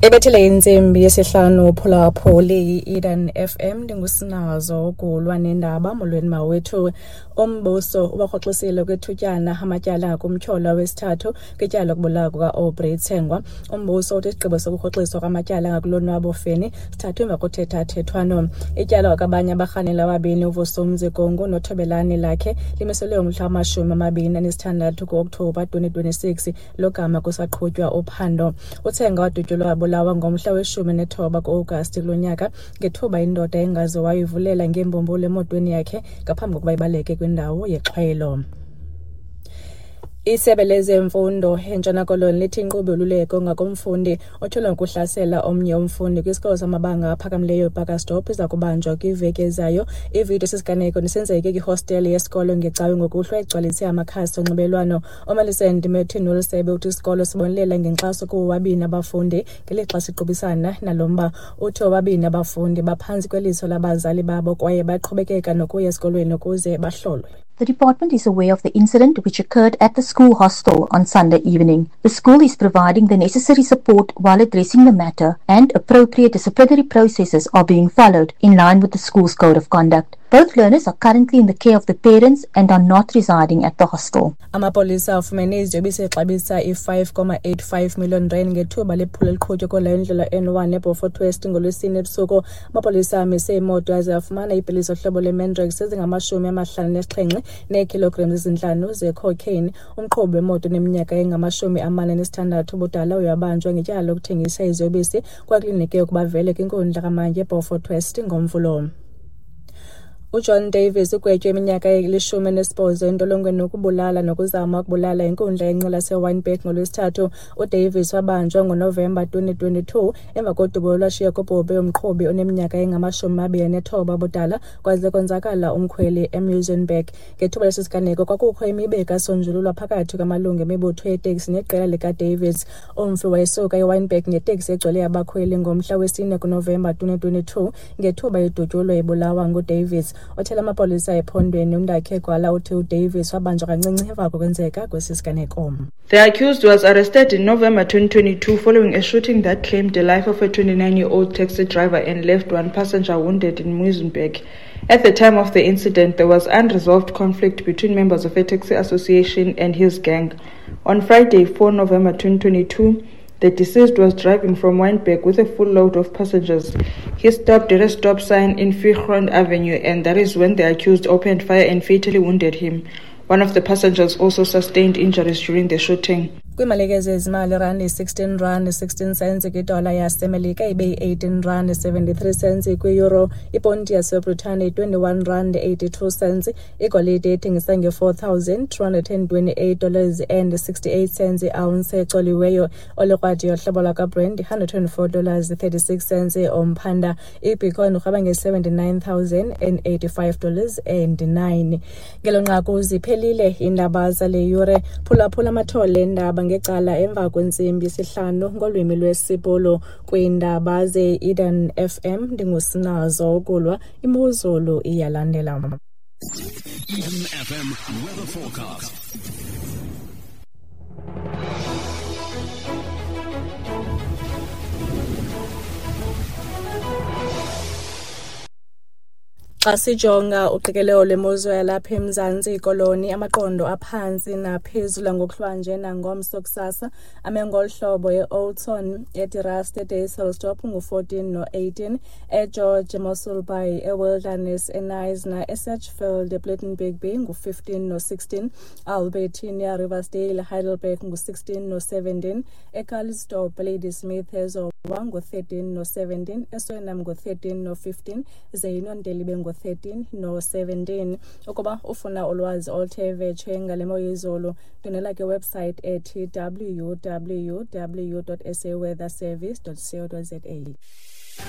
Ibethile intsimbi yesihlanu phulaphuli i-Eden FM, ndingusinazo ukulwa nendaba. Molweni mawethu. Umbuso ubarhoxisile kwithutyana amatyala ngakumtyholwa wesithathu kwityala lokubulawa kuka-Aubrey Tsengwa. Umbuso uthi isigqibo sokurhoxiswa kwamatyala ngakulonwabo Feni sithathwe emva kothethathethwano. Ityala kwakabanye abarhanela ababini, uVusumzi Gongo noThobelani Lakhe, limiselwe umhla wama-26 ku-Okthobha 2026, logama kusaqhutywa uphando. Uthenga wadutyulwa wabulawa ngomhla we-19 ku-Agasti kulo nyaka ngethuba indoda engaziwayo ivulela ngeembumbulu emotweni yakhe ngaphambi kokuba ibaleke kwindawo yexhwayelo. Isebe lezemfundo eNtshona Koloni lithi inkqubo yoluleko ngakumfundi otyholwa ngokuhlasela omnye umfundi kwisikolo samabanga aphakamileyo ePakastop iza kubanjwa kwiveki ezayo. Ividiyo sisiganeko nesenzeke kwihostele yesikolo ngeCawe ngokuhlwa igcwalise amakhasi onxibelelwano. UMillicent Merton weli sebe uthi isikolo sibonelela ngenkxaso kubo bobabini abafundi ngelixa siqubisana nalo mba. Uthi bobabini abafundi baphantsi kweliso labazali babo kwaye baqhubekeka nokuya esikolweni ukuze bahlolwe. The department is aware of the incident, which occurred at the school hostel on Sunday evening. The school is providing the necessary support while addressing the matter, and appropriate disciplinary processes are being followed in line with the school's code of conduct. Both learners are currently in the care of the parents and are not residing at the hostel. Amapolisa afumene iziyobisi exabisa i-5.85 million rand ngethuba lephulo eliqhutywe kweleyo ndlela N1 eBeaufort West ngoLwesine ebusuku. Amapolisa amise imoto aze afumana iipilisi zohlobo lweMandrax ezingama-57 neekhilogram ezintlanu zecocaine. Umqhubi wemoto oneminyaka engama-46 ubudala uyabanjwa ngetyala lokuthengisa iziyobisi, kwakulindeleke ukuba avele kwinkundla kamantyi eBeaufort West ngoMvulo. UJohn Davies ugwetywe iminyaka eli-18 entolongweni ukubulala nokuzama ukubulala inkundla yenqila yaseWynberg ngoLwesithathu. UDavies wabanjwa ngoNovemba 2022 emva kodubo olwashiya kubhubhe umqhubi oneminyaka engama-29 ubudala kwaze konzakala umkhweli eMuizenberg. Ngethuba lesi siganeko kwakukho imiba ekasonjululwa phakathi kwamalungu emibutho yeeteksi neqela likaDavies. Umfi wayesuka eWynberg ngeteksi egcwele abakhweli ngomhla wesi-4 kuNovemba 2022 ngethuba edutyulwa ebulawa nguDavies. Othela amapolisa ephondweni uMndakhe Gwala uthi uDavies wabanjwa kancinci emva kokwenzeka kwesi siganeko. The accused was arrested in November 2022 following a shooting that claimed the life of a 29-year-old taxi driver and left one passenger wounded in Muizenberg. At the time of the incident, there was unresolved conflict between members of a taxi association and his gang. On Friday, 4 November 2022, the deceased was driving from Wynberg with a full load of passengers. He stopped at a stop sign in Viergrond Avenue, and that is when the accused opened fire and fatally wounded him. One of the passengers also sustained injuries during the shooting. Kwiimalike zezimali, irandi 16 rand 16 cents kwidola yaseMelika, ibe yi-18 rand 73 cents kwiyuro, iponti yaseBritane 21 rand 82 cents, igolide ithengisa nge-$4,228 dollars and 68 cents iounce ecoliweyo, olikrwadi yohlobo lwakwaBrent $124 dollars 36 cents omphanda, ibitcoin urhweba nge-$79,085 dollars and 9. Ngelo nqaku ziphelile iindaba zale yure. Phulaphula amathole endaba ngecala emva kwentsimbi yesihlanu ngolwimi lwesiBhulu kwiindaba ze-Eden FM. Ndingusinazo ukulwa, imozulu iyalandela. Eden FM weather forecast. Xa sijonga uqikelelo lwemozulu yalapha eMzantsi Koloni, amaqondo aphantsi naphezulu ngokuhlwanje nangomso kusasa ame ngolu hlobo: eOudtshoorn, eDe Rust, eDysselsdorp ngu-14 no-18, eGeorge, eMossel Bay, eWilderness, eKnysna, eSedgefield, ePlettenberg Bay ngu-15 no-16, Albertinia, Riversdale, Heidelberg ngu-16 no-17, eCalitzdorp, Ladysmith, eZowa ngu-13 no-17, eSwellnum ngu-13 no-15, ze iNonteli ibe ngu-13 no-17. Ukuba ufuna ulwazi oluthe vetshe ngale mo yezulu, ndwendwela kwiwebsite ethi www.saweatherservice.co.za.